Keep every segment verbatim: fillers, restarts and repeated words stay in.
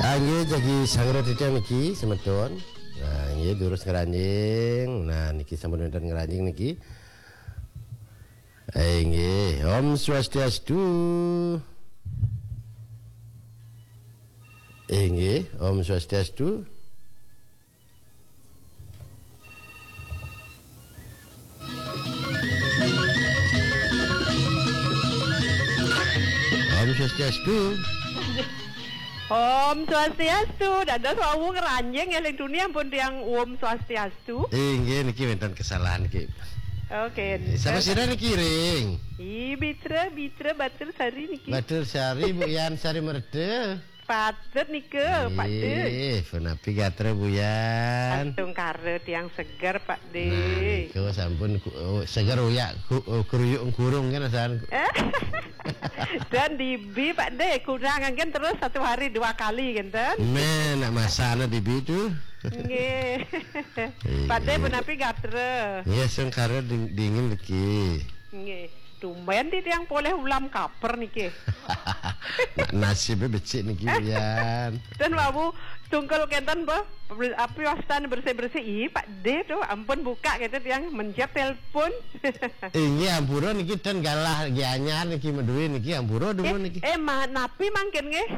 Inggih, jagi sangra titiang niki, semeton. Nah, inggih, durus ngranjing. Nah, niki sampun wénten ngranjing niki. Inggih, Om Swastiastu. Inggih, Om Swastiastu. Om Swastiastu. Om Swastiastu. Dados wau ngranjing éling tuni ampun tiang Om Swastiastu. Inggih, niki wénten kesalahan niki. Oke. Sapa sira niki, Ring? I Bitra, Bitra Batur Sari niki. Batur Sari, Bu Yan Sari Merta. Patut nika, Pak De. Ih, punapi gatra, Bu Yan? Astungkara tiang seger, Pak De. Nah, niku sampun ku-, oh, seger uyak ku-, oh, kruyuk kurung kan, asan. Dan dibi, Pak De, kurang kan terus satu hari dua kali kan, ten? Men, nak masana dibi tu. Nggih. Iya. Pak De, punapi gatra? Nggih, astungkara ding-, dingin niki. Nggih. Tumben titiang polih ulam kaper niki. Nasibnya becik niki, Yan. Dan wau tungkul kenten, Pak. Api wastan bersih-bersih. Ih, Pak De tuh, ampun buka gitu tiang mencet telepon. Inggih, ampura niki ten galah gianyar niki, madue niki, ampura dumun niki. Eh, eh, ma-, napi mangkin nggih?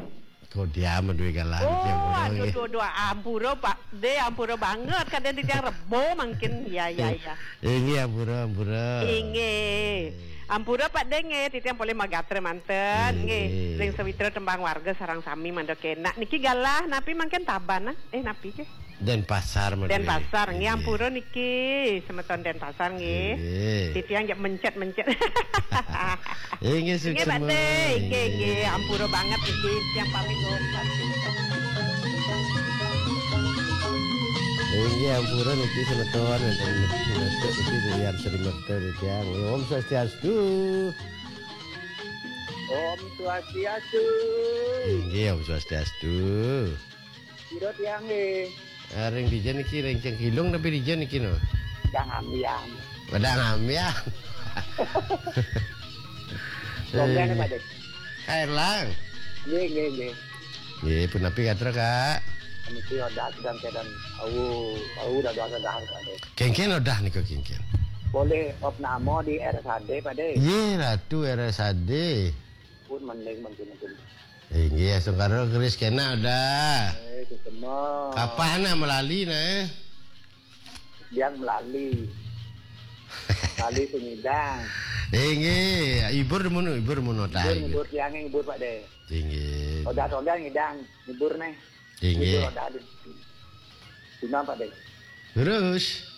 Kok dia madue galah niki, oh, ampura aduh, nggih. Aduh, aduh, ampura, Pak De, ampura banget. Kadang titiang rebo mangkin. Ya, ya, ya. Inggih, ampura, ampura. Inggih. Ampura, Pak De, nggih, titiang polih magatra manten, nggih. Nggih. Ring sawitra tembang warga sareng sami mandha kenak. Niki galah napi mangkin tabanan? Eh, napi nggih? Denpasar, madue. Denpasar, nggih, nggih. Ampura niki, semeton Denpasar nggih. Nggih. Titiang jak mencet-mencet. Inggih, nggih, Pak suksma. De, nggih, nggih, ampura banget niki, titiang pamit, oh, pamit. Inggih, ampura niki semeton, wénten niki Bu Yan Sri Merta titiang. Nggih, Om Swastiastu. Om Swastiastu. Inggih, Om Swastiastu. Pira tiang nggih? Ah, ring dija niki, ring Cengkilung tapi dija niki no? Dang ambiang. Padang ambiang. Longgan, eh, Pak De? Kak Erlang. Nggih, nggih, nggih. Nggih, punapi gatra, Kak? Niki odah sedang keadaan au, au dah dah dah, Pak De. Kéngkén odah nika kéngkén? Polih opname di R S A D, Pak De. Nggih, Ratu R S A D. Pun mending mungkin mungkin. Inggih, astungkara keris kenak odah. Eh, suksma. Kapan nah melali nah? Tiang melali. Melali sing ngidang. Inggih, ibur dumun, ibur dumun odah. Ibur, ibur tiang ngibur, Pak De. Inggih. Odah tonggal ngidang, ngibur neh. Inggih. Ngibur odah di. Dina, Pak De. Terus?